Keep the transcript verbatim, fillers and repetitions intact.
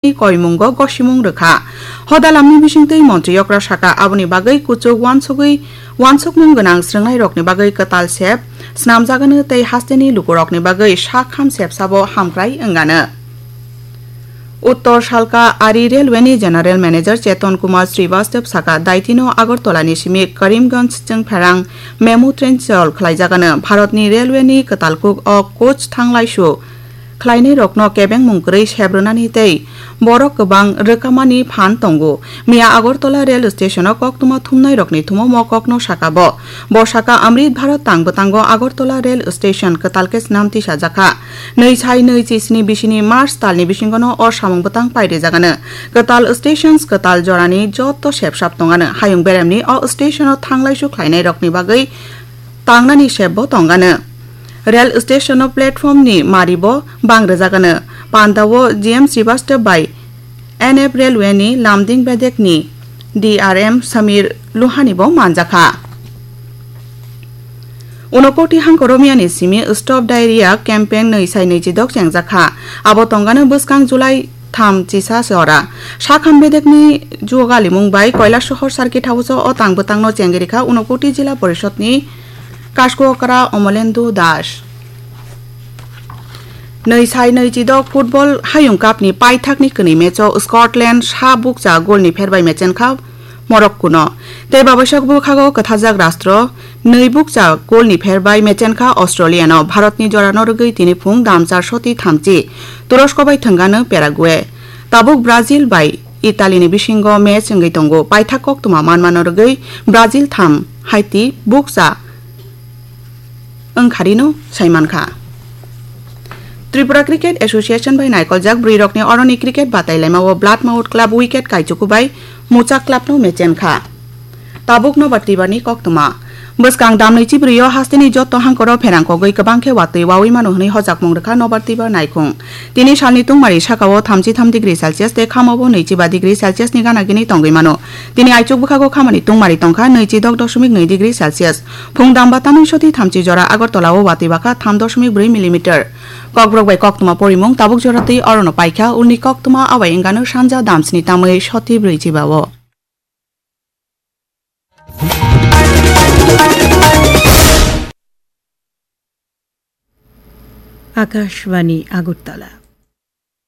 koimungo gosimung rwkha. Hoda lamni bisingtwi montri okra saka, aboni bagwi kuchuk uansugwi uansukmung gwnang srwngnairokni bagwi kwtal sep snamjagano tei hasteni lukurokni bagwi sak ham sepsabo hamkrai wngano. Uttor Salka Ari Railway ni General Manager Cheton Kumar Srivastav saka, daitino Agartala ni simi Karimganj chwngpherang memo train chol khlaijagano. Bharat ni railway ni kwtal kuk o coach thanglaisu khlainairokno kebengmung kwrwi sebrwnani tei borok kwbang rwkamani phan tongo. Miya Agartala rail station o koktwma thumnairokni thumo mo kokno saka bo. Bo saka, Amrit Bharat tang bwtango Agartala rail station kwtal khe snam tisajakha. Nwi sai nwi chi sni bisini March talni bisingono o samung bwtang pairijagano. Kwtal stations kwtal jorani joto sepsap tongano. Hayung beremni o stationo thanglaisu khlainairokni bagwi tangnani sepbo tongano. Rail stationo platformni maribo bang rwjagano. Pandao G M Srivastav bai N F Railway ni Lamding bedekni D R M Samir Luhani bo manjakha. Unokoti hangkoromiani simi Stop Diarrhea campaign nwi sai nwi chidok chengjakha. Abo tongano bwskang July tham chisa se ora. Sakham bedekni jugalimung bai Kailasohor Circuit House o tang bwtangno chengirikha Unokoti Jila Porishod ni Kaskokra Omolendu Das. Nwi sai nwi chidok football hayung cup ni paithak ni kwnwi match o Scotland sa bukcha goal ni pherbai mechenkha Morocco no. Tei babaisok bwkhago kwthajak rastro nwi bukcha goal ni pherbai mechenkha Australia no. Bharat ni jora no rwgwi tini phung damchar soti thamchi Turosko bai thwngano Paraguay. Tabuk Brazil bai Italy ni bisingo match wngwi tongo. Paithak koktwma manmano rwgwi Brazil tham, Haiti bukcha wngkharino saimankha. Tripura Cricket Association bai naikoljak bwrwirokni oroni cricket batailaimao Blood Mouth Club wicket kaichuku bai Muchak Clubno mechenkha. Tabuk Nobar Tibarni koktwma. Bwskang damnwi chibrwio hasteni joto hangkoro pherang kogwi kwbang khe watwi wawi mano hwnwi hojakmung rwkha Nobar Tibar naikhung. Tini salni tungmari sakao thamchi tham degree Celsius tei khamao nwichi ba degree Celsius ni gana gini tongwi mano. Tini aichuk bwkhago khamani tungmari tongkha nwichi dok dosmik nwi degree Celsius. Phung damba tamni soti thamchi jora Agartala o watwi bakha tham dosmik bwrwi millimeter. Kokborok bai koktwma porimung tabuk jora twi orono paikha, ulni koktwma abai wngano sanja damsni tamwi soti bwrwi chiba o. Akashbani Agartala.